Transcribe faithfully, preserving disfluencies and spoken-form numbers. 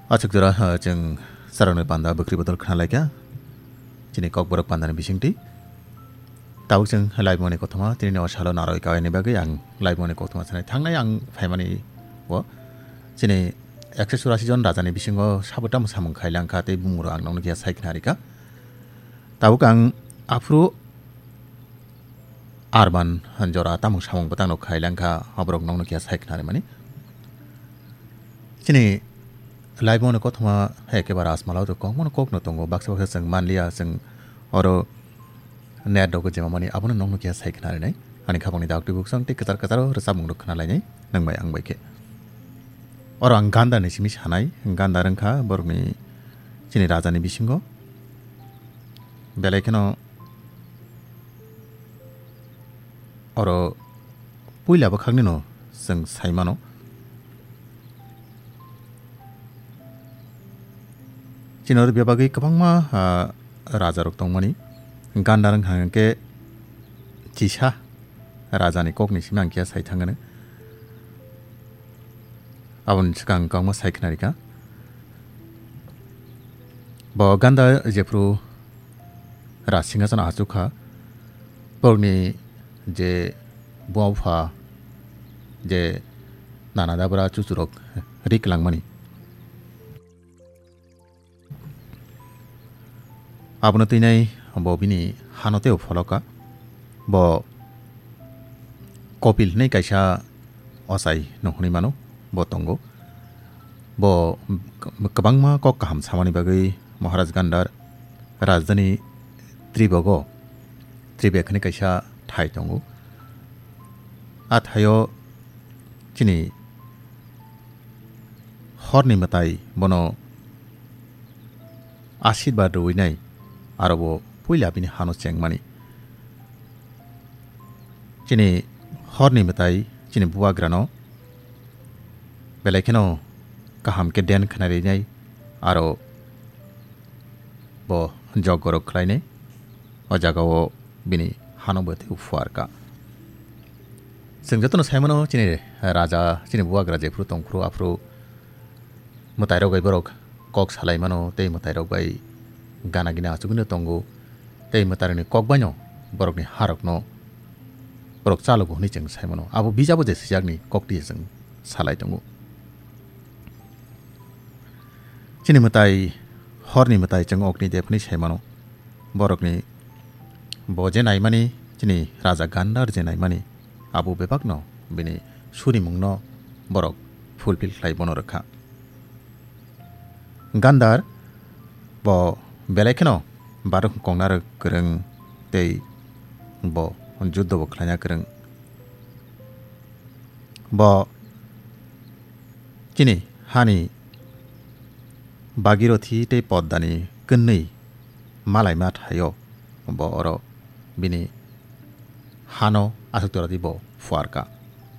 Achuk jora, ah, chwng sarokni panda bwkrwi bodol khna laikha. Chini kokborok pandani bisingtwi. Tabuk chwng laibumani kothoma, tini o salo narwi kawaini bagwi ang laibumani kothoma sanai thangnai ang phaimani o. Chini ekso churasi jon rajani bisingo sabo tamo samung khailangkha tei bumuro ang nokno khe sai khna rikha. Tabuk ang aphuru Arban jora tamung samung bwtangno khailangkha, aborok nokno khe sai khna rimani. Chini laibumani kothoma hai khe ba rasmala o kwbangmano kokno tongo, baksa baksa chwng manliya, chwng oro net rok jemamani abono nokno khe sai khna rinai. Ani khapangni daktwi buksong tei kwchar kwcharo rwchapmung rok khna lainai nang bai ang bai khe. Oro ang gandani simi sanai, ganda rwngkha borokni chini rajani bisingo. Belai kheno oro puila bwkhaknino chwng sai mano. Chini oro bebagwi kwbangma, ah, rajarok tongmani. Ganda wngkha hwnkhe chisa rajani kokni simi ang khe sai thangano. Aboni swkang kwbangma sai khna rikha. Bo ganda jephru Rajsinghasan achukha, borokni je buma bupha je nana dabra chuchurok ri kwlangmani. Abono twinai bo bini hano teibo pholoka. Bo Kopil hinwi kaisa ochai no hwnwi mano, bo tongo. Bo kwbangma kok kaham samani bagwi Maharaj Gandhar rajdhani Tribogo, Tribek hinwi kaisa thai tongo. A thaio chini horni mwtai bono asirwad rwinai, aro bo puila bini hano chengmani. Chini horni mwtai chini bubagrano belai kheno kaham khe den khna rinai, aro bo jogorok khlainai, o jagao bini hano bo tei phuarkha. Chwng jotono saimano chini raja, chini bubagra jephru tongphru aphru mwtairok bai borok kok salaimano tei mwtairok bai gana gini achugwino tongo tei mwtairokni kok baino borokni harokno borok chalogo hwnwi chwng saimano. Abo bijabo je sijakni koktwi chwng salai tongo. Chini mwtai, horni mwtai chwng okni dep hwnwi saimano. Borokni bo je naimani, chini raja Gandhar je naimani, abo bebakno bini surimungno borok fulfill khlai bono rwkha. Gandhar bo belai kheno barok kongna rw kwrwng tei bo juddo bo khlaina kwrwng. Bo chini hani Bhagirathi tei Poddani kwnwi malaima thaio bo oro bini hano aswk tora di bo phuarkha.